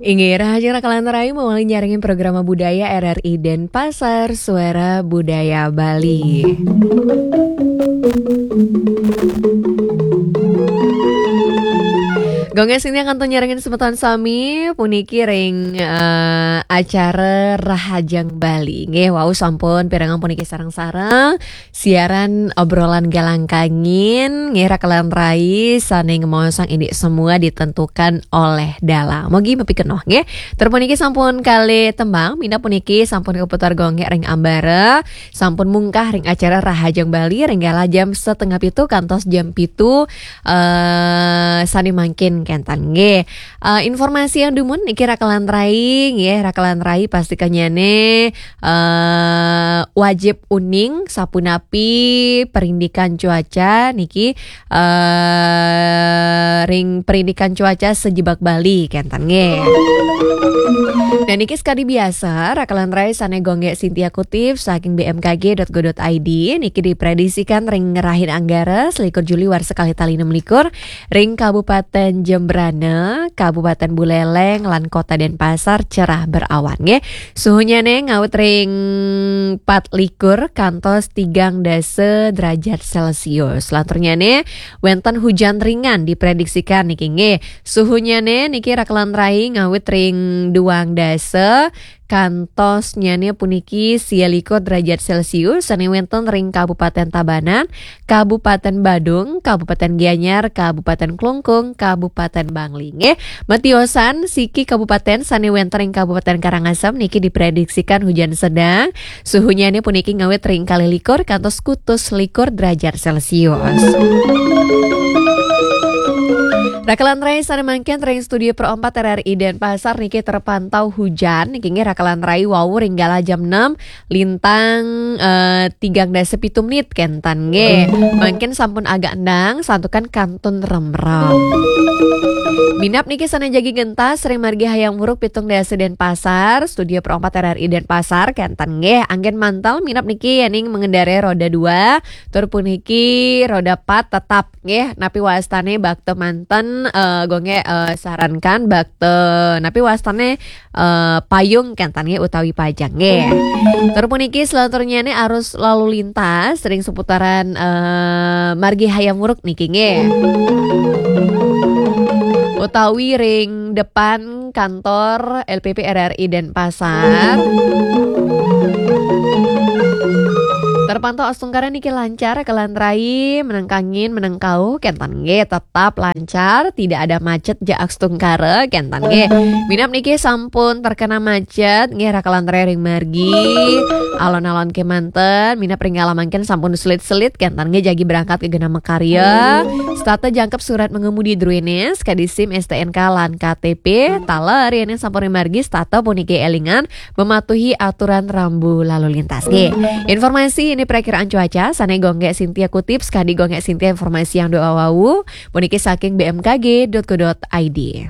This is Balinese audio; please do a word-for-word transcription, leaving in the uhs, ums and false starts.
Inggih, rahajeng raka lan rai mawali nyarengin programa budaya R R I Denpasar, Suara Budaya Bali. Gung Sintia kantun nyarengin semeton sami puniki ring, eh, acara Rahajeng Bali. Nggih, wau sampun pirengang puniki sareng-sareng siaran obrolan galang kangin, nggih, raka lan rai sane ngemaosang indik semua ditentukan oleh dalang. Mugi mapikenoh, nggih. Tur puniki sampun kalih tembang, minab puniki sampun kaputar gonggek ring ambara, sampun mungkah ring acara Rahajeng Bali ring galah jam setengah pitu kantos jam pitu, eh, sane mangkin kenten, nggih. Eh, informasi yang dumun niki raka lan rai, nggih, raka lan rai pastikanyane eh, wajib uning sapunapi perindikan cuaca niki, eh, ring perindikan cuaca sajebag Bali kenten nggih. Dan niki sekadi biasa, raka lan rai sane gonggek Sintia kutip saking B M K G dot go dot I D niki diprediksikan ring rahina Anggara selikur Juli warsa kalih tali enam likur ring Kabupaten Jembrana, Kabupaten Buleleng, lan Kota Denpasar cerah berawan nggih. Suhunyane ngawit ring pat likur kantos tigang dasa derajat Celcius. Lanturnyane wenten hujan ringan diprediksikan niki nggih. Suhunyane niki raka lan rai ngawit ring duang dasa kantosnyane puniki sia likur derajat Celcius sane wenten ring Kabupaten Tabanan, Kabupaten Badung, Kabupaten Gianyar, Kabupaten Klungkung, Kabupaten Bangli. Nggih, matiosan siki kabupaten sane wenten ing Kabupaten Karangasem niki diprediksikan hujan sedang. Suhunyane puniki ngawit ring kalih likur kantos kutus likur derajat Celcius. Raka lan rai sane mangkin ring studio Pro empat R R I Denpasar niki terpantau hujan niki nggih raka lan rai wau ring galah jam enam lintang, eh, tigang dasa pitu menit kenten nggih. Mangkin sampun agak endang, santukan kantun remrem. Minab niki sane jagi gentas ring margi Hayam Wuruk pitung dasa Denpasar, studio Pro empat R R I Denpasar kenten nggih. Anggen mantel minab niki yening mengendarai roda dua, tur puniki roda pat tetap nggih. Napi wastane bakta manten, eh, gonggek, eh, sarankan bakta napi wastane eh, payung kenten nggih utawi pajang nggih. Tur puniki selanturnyane arus lalu lintas ring seputaran, eh, margi Hayam Wuruk niki nggih. Utawi ring depan kantor L P P R R I Denpasar. Terpantau astungkara niki lancar, raka lan rai meneng kangin meneng kauh kenten nggih tetap lancar, tidak ada macet ja astungkara kenten nggih. Minab niki sampun terkena macet nggih raka lan rai ring margi. Alon-alon kemanten, minab ring galah mangkin sampun selit-selit kenten nggih jagi berangkat ke genah makarya. Setata jangkep surat mengemudi druene, sekadi SIM, S T N K lan K T P. Taler yening sampun ring margi setata puniki elingan mematuhi aturan rambu lalu lintas nggih. Informasi ini perakiraan cuaca sane gonggek Sintia kutip sekadi gonggek Sintia informasi yang doa wau puniki saking B M K G dot go dot I D.